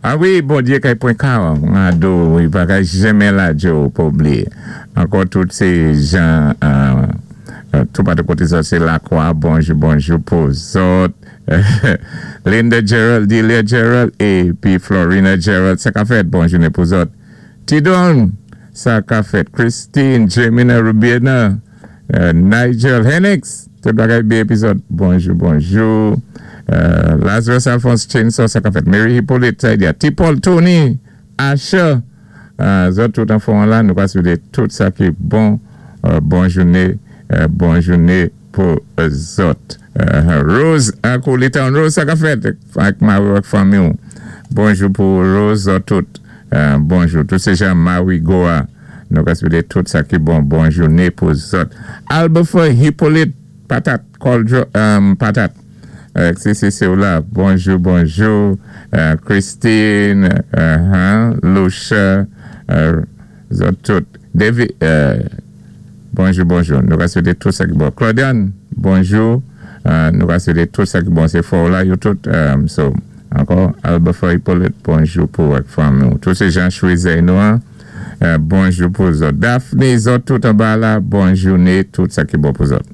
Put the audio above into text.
A wi, Bondyé kay pwan kado, i pa kay jenmen ladjé-w pa blié. Ankò tout sé jan tou patou koté zòt sé Lakwa, bonjou bonjou pou zòt. Linda Gerald, Delia Gerald épi Florina Gerald, sa ka fèt? Bon jounen pou zòt. Tidon, sa ka fèt? Christine, Jemina, Rubiena, Nigel, Henix, tout bagay byen épi zòt, bonjou bonjou. Lazarus Alphonse Chainsaw, sa ka fèt? Mary Hippolyte, sa di a Ti Paul, Tony, Asha, zòt tout anfòm la, nou ka swété tout sa ki bon, bon jounen, bon jounen pou zòt. Rose ak ou Litown Rose, sa ka fèt? Ak mari-w ak fanmi-w, bonjou pou ou Rose, zòt tout bonjou. Tout sé jan Marigot a, nou ka swété tout sa ki bon, bon jounen pou zòt. Albefer Hippolyte patat kòldjo patat CCC ou la, bonjou bonjou Christine, Loucha, zòt tout David. Bonjou bonjou nou ka swete tout sa ki bon Claudiane bonjou nou ka swete tout sa ki bon se fò w la yo tout so ankò Albefer Hyppolite bonjou pou ou ak fanmi w tout se jan chwezèy nou an bonjou pou zòt Daphne zòt tout anba la bon joune tout sa ki bon pou zòt.